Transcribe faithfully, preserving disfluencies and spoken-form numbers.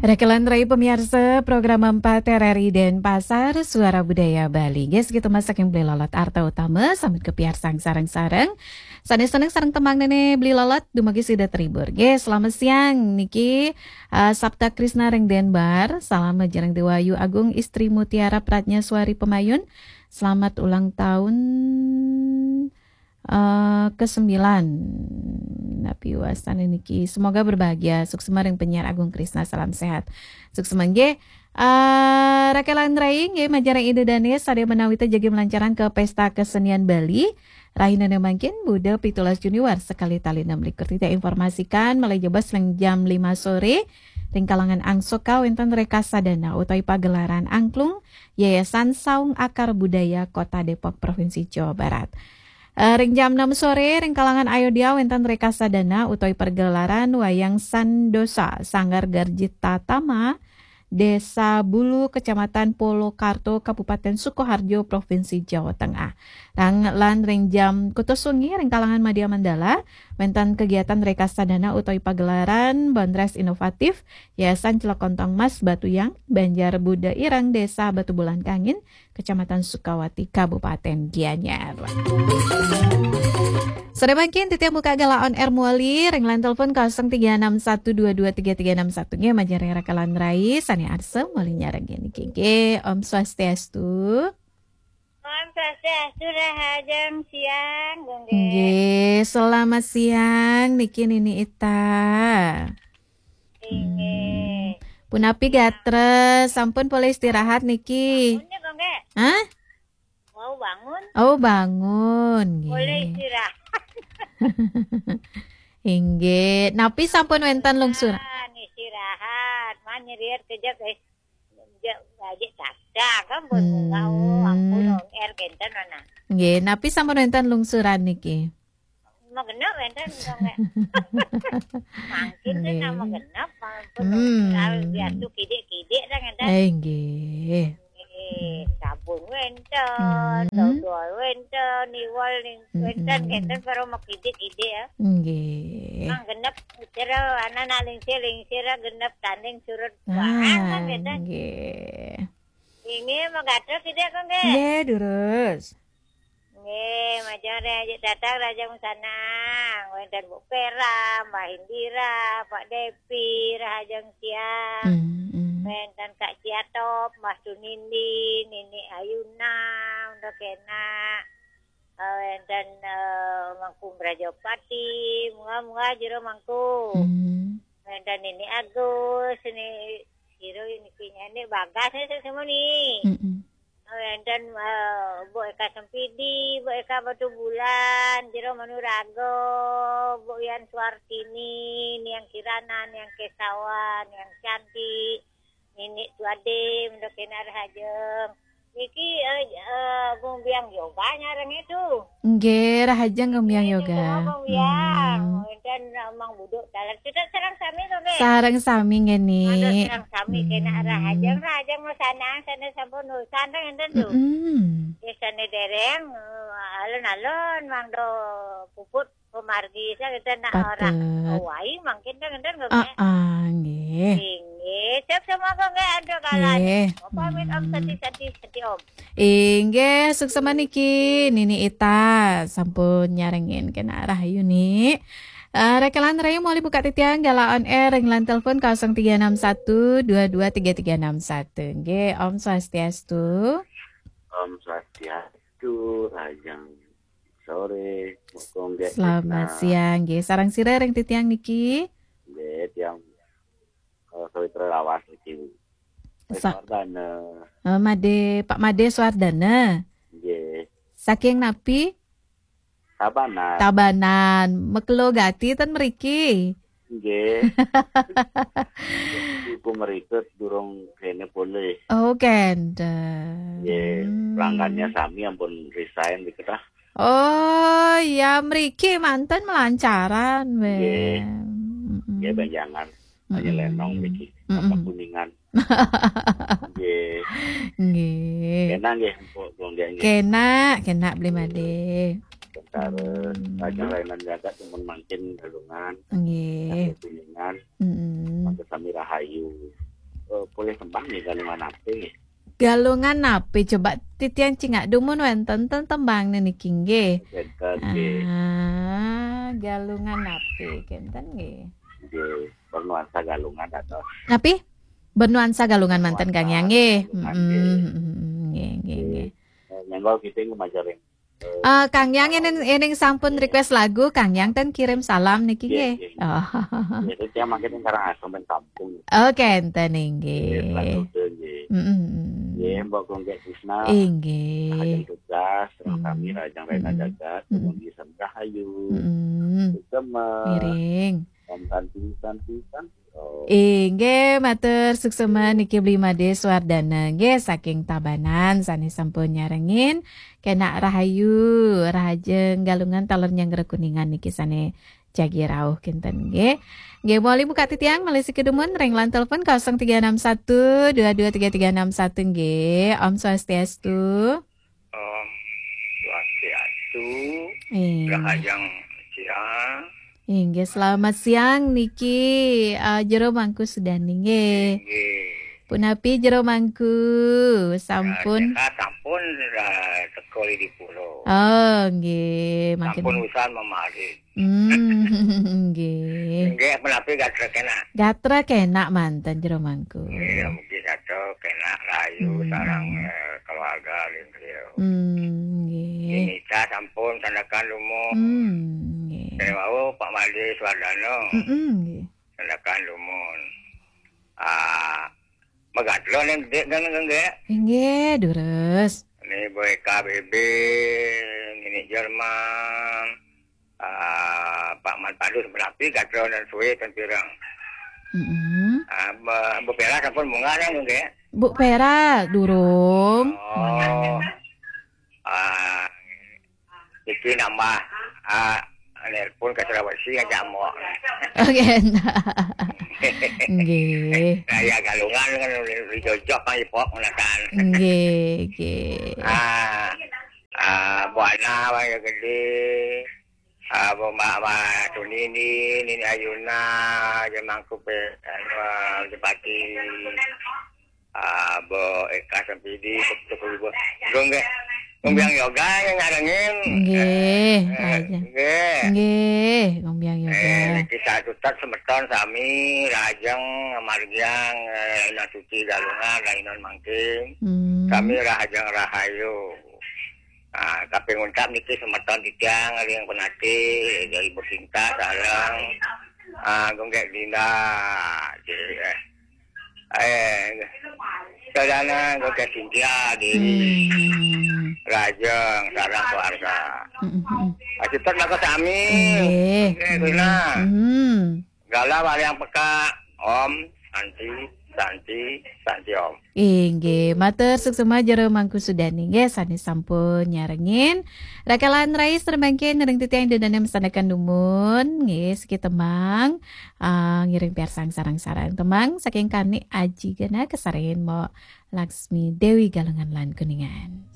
Rakelan rai pamiarsa program empat R R I Denpasar, Suara Budaya Bali. Nggih, sakitu masa saking Beli Lolot Arta Utama, sambut kapiarsang sareng-sareng. Sané seneng sareng tembang Néné Beli Lolot, dumugi sida terhibur. Nggih, selamat siang niki, eh, Sapta Krisna ring Denbar. Salam majeng Déwa Ayu Agung, Istri Mutiara Pratnya Suari Pemayun. Selamat ulang tahun eh, kesembilan. Napi wastané niki? Semoga berbahagia. Suksma ring penyiar Agung Krisna, salam sehat. Suksma nggih. Eh, Rakelan rai nggih, majeng ring Ida Dané sadaya menawi jagi melancarang ke Pesta Kesenian Bali. Rahinané mangkin Buda pitulas Juni warsa kalih tali enam likur. Titiang informasikan malih jebos ring jam lima sore ring kalangan angsuka wénten Rekasa Dana utawi pagelaran angklung Yayasan Saung Akar Budaya Kota Depok, Provinsi Jawa Barat. Eh, ring jam enam sore, ring kalangan Ayodya wénten Rekasa Dana utawi pergelaran wayang Sandosa, Sanggar Garjita Tama, Desa Bulu, Kecamatan Polokarto, Kabupaten Sukoharjo, Provinsi Jawa Tengah. Rang-, lan ring jam kutus wengi, ring kalangan Madya Mandala, wénten kegiatan Rekasa Dana utawi pagelaran Bandres Inovatif, Yayasan Celekontong Mas Batuyang, Banjar Buda Ireng, Desa Batubulan Kangin, Kecamatan Sukawati, Kabupaten Gianyar. Sore mangkin, titiang buka galah on air malih, ring line telepon kosong tiga enam satu dua dua tiga tiga enam satu. Nggih, majeng ring Rakelan rai, sané arsa malih nyarengin niki. Nggih, Om Swastiastu. Om Swastiastu, rahajeng siang, Gung Gé. Nggih, selamat siang, niki Nini Ita. Inggih. Hmm. Punapi gatra, sampun polih istirahat niki? Sampun ya, Gung Gé. Hah? Wau bangun. Oh, bangun, nggih. Polih istirahat. Inggih. Napi sampun wénten lungsur? Ah, istirahat, mah nyeriet kejep, eh. Kejep, aja dadak, kan, pun munggah, oh, ampun, hmm, on air kénten, mana? Nggih, napi sampun wénten lungsuran niki? Magenep wénten, Gung Gé. Mangkin tuh, nggih, nama genep, ampun, hmm, lungsuran biasa kidik-kidik, dah, ngénten. Eh, nggih. Eh, sabun wénten, hmm, dodol wénten, iwal ning-, hmm, wénten, hmm, kénten, para makidik-kidik, ya. Nggih. Mang genep, sira, ana nak lingsir-lingsir, genep tanding surut. Ah, barang, kan, ngénten. Nggih. Inggih, magatra kidik, Gung Gé. Nggih, durus. Nggih, majeng ring aji dadak rahajeng masanang. Wénten Bu Pera, Mbak Indira, Pak Depi, rahajeng siang. Hmm, hmm. Wénten Kak Ciatop, Mbah Sunindi, Nini Ayuna, Unda Kena. Eh, wénten, eh, Mangku Mrajapati, munggah-munggah jero Mangku. Hmm. Wénten Nini Agus, ini, jero niki nyanyi Bagas, ini semua nih. Mm-mm. Wénten, eh, Bu Eka Sempidi, Bu Eka Batubulan, Jero Manuraga, Bu Yan Suartini, Niang Kirana, Niang Kesawan, Niang Cantik, Nini Tuade, Mendo Kena rahajeng. Niki, eh, eh, Gung Biang Yoga nyareng itu. Nggih, rahajeng Gung Biang Yoga. Gung Biang. Hmm. Wénten, eh, Mang Buduk dalan. Kita sareng sami to, nggih? Sareng sami nggih, Ni. Aduh, sareng sami kena rahajeng, rahajeng masanang, sané sampun urusan, enten tuh. Mm-mm. Ya, sané dereng, eh, alon-alon, Mang do puput, pemargi, saya kita nak orang. Patut. Oh, wai, mangkin kan, enten nggih, ah, nggih. Nggih, siap semua kok, nggih, ada kalanya. Nggih. Pamit, Om, hmm. Sati, sati, sati, Om. Inggih, suksma niki, Nini Ita, sampun nyarengin kena rahayu, Ni. Eh, Rakelan rahayu malih buka titiang, galah on air, ring line telepon kosong tiga enam satu dua dua tiga tiga enam satu. Nggih, Om Swastiastu. Om Swastiastu, rahajeng sore, Gung Gé. Selamat siang, nggih. Sareng sira ring titiang niki? Nggih, tiang, eh, sawitra lawas niki. Sa- Suardana. Eh, Made, Pak Made Suardana. Nggih. Saking napi? Tabanan. Tabanan. Makelo gati ten mriki. Nggih. Ibu mrikut durung kene polih. Oh, kenten. Nggih, hmm. Pelanggannya sami ampun resign diketah. Oh, ya mriki manten melancaran, nggih. Nggih, benjangan. Hanya lenong mriki. Mm-mm. Apa Kuningan. Nggih. Nggih. Kena nggih, Mpok Gung Gé nggih. Kena, kena Beli Made. Sementara hmm. Raja layanan jagat yang mangkin Galungan. Nggih. Kuningan. Mm-mm. Mangkin sami rahayu. eh, polih tembang nggih, Galungan Api nggih. Galungan Api, coba titiang cingak dumun wénten ten tembang niki nggih. Wénten nggih. Ah, Galungan Api, kénten nggih. Nggih, bernuansa Galungan atau Napi? Bernuansa Galungan manten Kang Yang nggih. Bernuansa Galungan, mm-mm, nggih. Mm-mm, nggih, nggih, nggih. Eh, nyenggol kita nggih majaring. Eh, Kang Yang ini, ini sampun request lagu, Kang Yang ten kirim salam niki nggih, nggih. Nggih. Oh. Nggih, terus yang makin sekarang asam dan kampung. Oke, enten nggih. Nggih, Pak Dode nggih. Mm-mm. Nggih, Mbok Gonggek Tisna. Inggih. Rahajeng tugas, sareng sami rahajeng Rena Jagat, mm-mm, dumugi sareng rahayu. Mm-mm. Suksema. Miring. Om Santi, Santi, Santi, Om. Inggih, matur suksema niki Bli Made Suwardana nggih saking Tabanan sané sampun nyarengin. Kenak rahayu, rahajeng Galungan taler nyanggra Kuningan niki sané jagi rauh kinten nggih. Nggih, mawali buka titiang malih siki dumun ring line telepon kosong tiga enam satu dua dua tiga tiga enam satu nggih. Om Swastiastu. Om Swastiastu. Iya. Rahajeng siang. Inggih, selamat siang niki, eh, Jero Mangku Sudani nggih. Inggih. Punapi Jero Mangku, sampun? Nah, sampun, eh, teka di pulau. Oh, nggih, makin sampun usan memari. Hmm, nggih. Nggih, punapi gatra kenak? Gatra kenak manten Jero Mangku. Nggih, mugi gatra kenak rahayu, hmm, sareng, eh, keluarga ring griya. Hmm, nggih. Nita sampun sandekan dumun. Hmm, nggih. Dene wau Pak Made Suwardana. Mm-mm, nggih. Sandekan dumun. Ah, magatra ning Dik kan nggih. Inggih, durus. Ini Boy K B B, Nini Jerman. Ah, Pak Man Padus berapi gatra dan suwe ten pirang. Mm-mm. Ah, be-, bepera sampun munggah nggih. Bu Pera durung. Oh. Ah, iki nambah, ah, nelpon ke Sulawesi aja, Mbok. Oke, nah. Nggih. Nah, ya, Galungan kan dijojok kan, Ipok, menakan. Nggih, nggih. Ah, ah, Buana, Waya Gede. Ah, Bu Mbak, Mbak Tunini, Nini Ayuna, Jemangku pe, anu, Jepati. Ah, Bu Eka Sempidi, Tukul Bu. Gung nggih. Gumbiang Yoga yang ngarengin. Nggih, eh, eh, aja. Nggih. Nggih, Gumbiang Yoga. Eh, niki satutat semeton sami rahajeng ngamargiang, eh, Ina Suci Galungan, Rainon mangkin. Hmm. Sami rahajeng rahayu. Ah, kaping untat niki semeton titiang ring penati, Ibu Sinta sareng, ah, Gung Gek Dinda. Nggih, eh. Eh, Sadana Gung Gek Sintia Dewi. Hmm. Rajeng sareng keluarga. Mm, mm, mm. Ah, kita maka sami. Nggih. Nggih, Rina. Hmm. Gala wayang peka, Om, Santi, Santi, Santi, Om. Inggih, matur suksema Jero Mangku Sudani nggih, sané sampun nyarengin. Rakalan rais remangkin ring titiang ida dané masandekan dumun, nggih, siki tembang, ah, ngiring piarsang sareng-sareng tembang saking Kani Aji Gena kasarengin Mbok Laksmi Dewi Galungan lan Kuningan.